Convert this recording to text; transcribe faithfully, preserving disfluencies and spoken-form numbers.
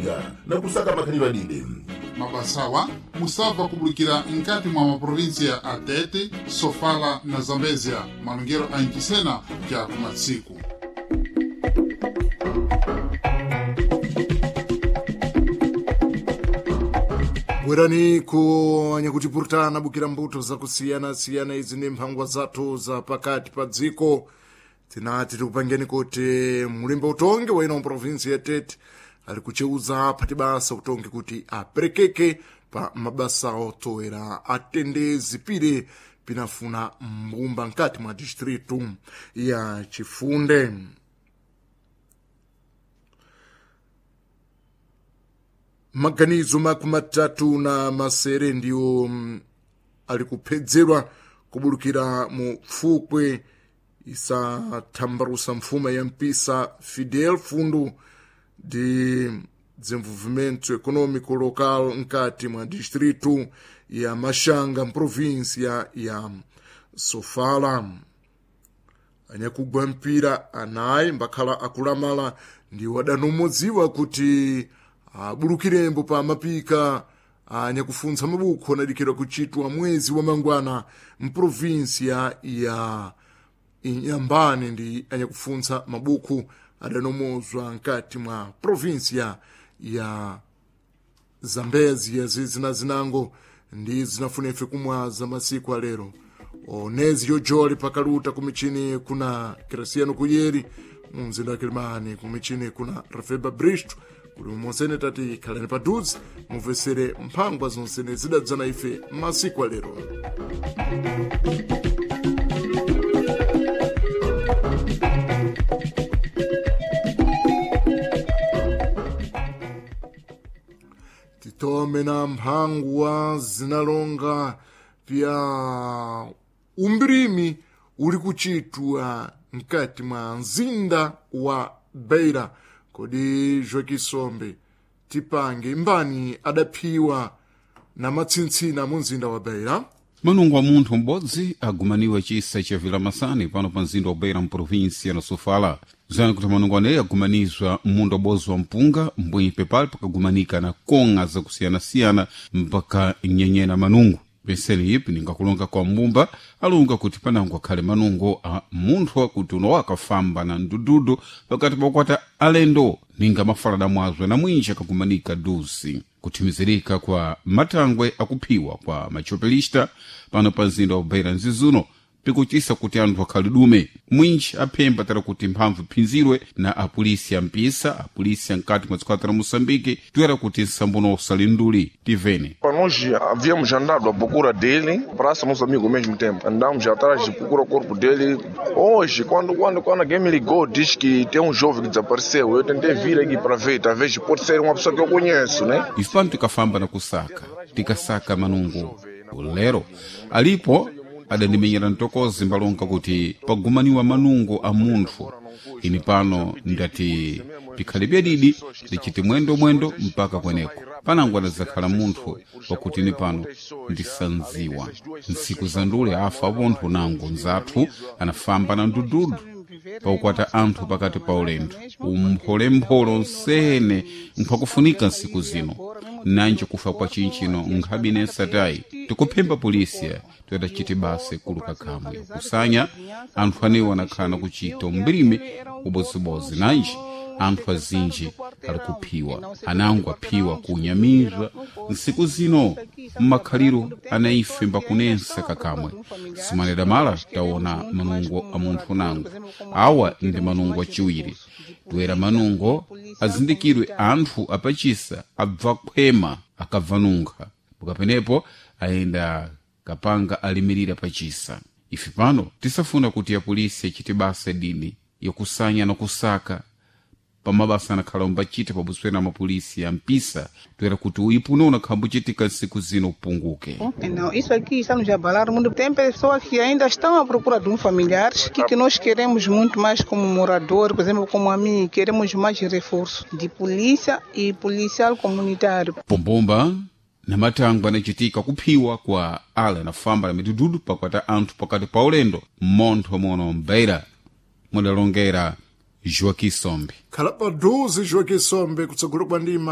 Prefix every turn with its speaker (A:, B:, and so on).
A: Malinga na kusaka makhalidwe adide.
B: Mabasawa musabva kubulikira nkati mwa maprovinsia a Tete, Sofala na Zambezia, malongero a Ncisena ja kumatsiku.
C: Bwerani ku anyakutipurutana bukira mbuto zakusiyana-siyana izi ndi mphangwa zathu za pakati pa dziko. Tinati tikupangeni kuti mulimbe utongi wa ino provinsi ya Tete ali kucheuza aphati basa utongi kuti aperekeke pa mabasa otowera atende zipire pinafuna mbumba nkati mwa distritu ya Chifunde. Maganizo makumi matatu na masere ndiwo mm, ali kuphedzerwa kubulukira mu pfukwe isathambarusa mfuma ya mpisa Fidel Fundo de Desenvolvimento Econômico Local nkati mwa distrito ya Machanga, província ya Sofala. Anyakugwa mpira anayi mbakhala akulamala ndiwo adanomodziwa kuti abulukirembo pa mapika anyakufuntsa mabukho anadikira kuchitwa mwezi wa mangwana mprovinsia ya Inhambane ndi anyakufuntsa mabukhu adanomozwa nkati mwa provinsia ya Zambezia zizina zinango ndi zinafuna ife kumwaza masiku alero. Onezi yojoli pakaluta kumichini kuna Graciano Kuyeri mumzinda wa Kilimani, kumichini kuna Rafeba Bristo kuli monsene tati khalani padhuze mumvesere mphangwa zonsene zidadzana ife masiku alero. Titome na mphangwa zinalonga pya umbrimi uli kuchitwa mkati mwa mzinda wa Beira. Kodi Joaquim tipange mbani adaphiwa na matsintsina mu mzinda wa Beira?
D: Manungo wa munthu m'bodzi agumaniwa chisa cha Vilamasani pano pa mzinda wa Beira mprovinsia na Sofala. Zani kuti manungo aneyi agumanizwa munda ubodzi wa mpunga mbwipe pali pakagumanika na kong'a zakusiyanasiyana mpaka nyenyena manungo. Penseli ipi ningakulonga kwa mbumba alunga kuti panango akhale manungo a munthu akuti uno akafamba na ndududu pakati pakukwata alendo ninga mafalada mwazwe na mwinji akagumanika dusi kuthimizirika kwa matangwe akuphiwa kwa machopelista pano pa mzinda wa Beira nzizuno pikuchisa kuti anthu akhale dume mwinji aphemba tara kuti mphamvu iphinzirwe na apolisi ya mpisa apolisi ankati mwa dziko la Moçambique toera kuti nsambuno usalinduli tivene.
E: Para nós havíamos andado à procura dele, praça nosso amigo ao mesmo tempo. Andamos atrás de procura o corpo dele. Hoje, quando, quando, quando alguém me ligou, diz que tem um jovem que desapareceu. Eu tentei vir aqui para ver, talvez pode ser uma pessoa que eu conheço, né?
D: Ife pano tikafamba na kusaka tikasaka manungo lero alipo adandimenyera mtokozi mbalonga kuti pagumaniwa manungo a munthu. Ini pano ndati pikhale byadidi ndichiti mwendo mwendo mpaka kweneko panango adazakhala munthu pakuti ini pano ndisanziwa. Ntsiku za ndule afa apontho nango nzathu anafamba na ndududu paukwata anthu pakati pa ulendo umpholempholo nsene nkhwakufunika nsiku zino nanji kufa kwa chinchino nkhabi satayi tikuphemba polisiya toyatachiti base kuluka kamwe kusanya anthu anewo anakhala nakuchita umbilime ubodzibozi nanji anthu azinji ali kuphiwa anango aphiwa kunyamizwa nsiku zino mmakhaliro anaife mbakunensa kakamwe simaneda mala taona manungo a munthu nango awa ndi manungo achiwiri toera manungo azindikirwe anthu apachisa abva khwema akabva nunkha pukapenepo ayenda kapanga alimirira pachisa. Ife pano tisafuna kuti apolisi achite basa dini yakusanya na kusaka pamabasa anakhala umbachita pabuswera mapolisi ya mpisa toera kuti uipuno unakhambuchitika nsiku zino upunguke.
F: Não, isso aqui está nos abalar muito. Tem pessoas que ainda estão à procura de um familiar, que, que nós queremos muito mais como morador, por exemplo, como a mim, queremos mais reforço de polícia e policial comunitário.
D: Pombomba na matangwe anachitika kuphiwa kwa ala anafamba na midududu pakwata anthu pakati pa ulendo mmontho mono mbeira mudalongera Joaquim Sombe.
C: Khala padhuze Joaquim Sombe kutsogolo kwa ndima.